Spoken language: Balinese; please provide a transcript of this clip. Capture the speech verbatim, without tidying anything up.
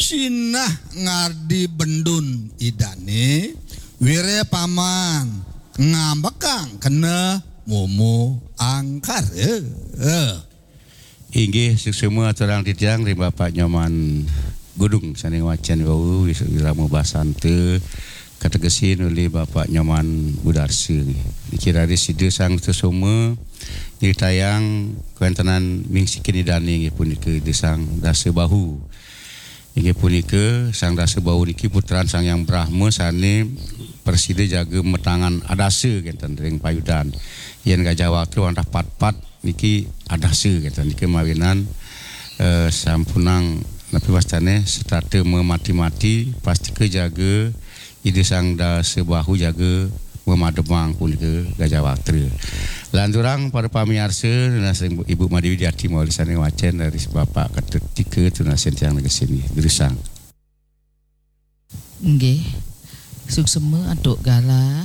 Sinah ngardi bendun idane, wire paman ngambekang kena momo angkara. Inggih, suksma aturang titiang ring Bapak Nyoman Gudung sane ngwacen wau wis-, wirama basanta kategesin olih Bapak Nyoman Budarsa nggih. Niki raris Ida Sang Sutasoma nyritayang kawentenan mingsikin idane inggih punika Ida Sang Dasa Bahu. Inggih punika Sang Dasa Bahu niki putran Sang Hyang Brahma sane prasida jaga matangan adasa kenten ring payudan. Yen Gajah Watra wantah patpat niki adasa kenten nika mawinan, eh, sampunang napi wastane setata mamati-mati pastika jaga Ida Sang Dasa Bahu jaga mamademang punika Gajah Watra. Lanturang para pamiarsa, nunas ring Ibu Made Widiati mawali sane wacen dari Bapak Ketut Tika tunasin tiang negesin durusang. Nggih. Suksma antuk galah